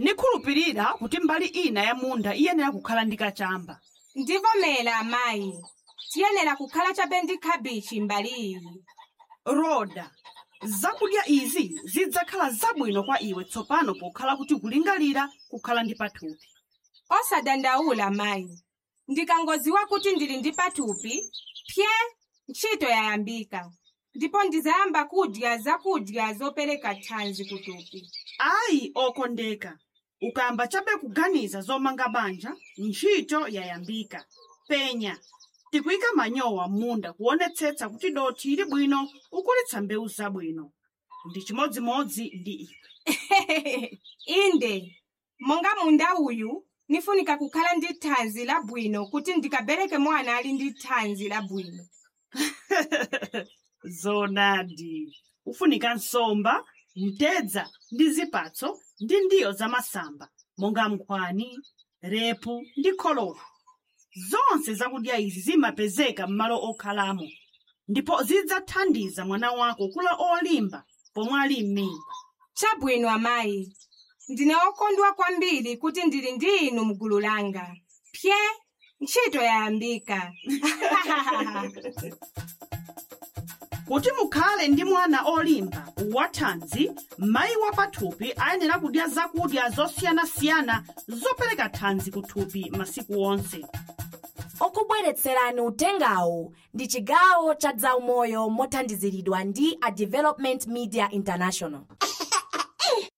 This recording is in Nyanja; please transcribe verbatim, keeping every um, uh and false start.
Nikhulupirira kuti mbali ina ya munda iyenera kukhala ndi kachamba. Ndivomera, amayi, tiyenera kukhala chabe ndi khabichi mbali iyi. Roda, zakudya izi zidzakhala zabwino kwa iwe tsopano pokhala kuti kulingalira kukhala ndi pathupi. Osadandaula, mayi, ndikangoziwa kuti ndili ndi pathupi, pye ntchito yayambika, ndipo ndizayamba kudya zakudya zopereka thanzi kuthupi. Ayi, okondeka, ukayamba chabe kuganiza zomanga banja, ntchito yayambika. Penya, tikuyika manyowa m'munda kuonetsetsa kuti dothi ili bwino ukulitsa mbewu zabwino. Ndi chimodzimodzi ndi iwe. Inde, monga munda uyu nifunika kukhala ndi thanzi labwino kuti ndikabereke mwana ali ndi thanzi labwino. Zonadi, ufunika nsomba, mtedza ndi zipatso ndi ndiyo zamasamba monga nkhwani, repu ndi kholowa. Zonse zakudya izi zimapezeka m'malo okhalamo ndipo zidzathandiza mwana wako kula olimba pomwe ali m'mimba. Chabwino, amayi, ndine okondwa kwambiri kuti ndili ndi inu mgulu langa. Pye ntchito yayambika. Kuti mukhale ndi mwana olimba wathanzi, mayi wa pathupi ayenera kudya zakudya zosiyanasiyana zopereka thanzi kuthupi masiku onse. Okubweretserani utengawu ndi chigawo cha zaumoyo mothandiziridwa ndi a Development Media International.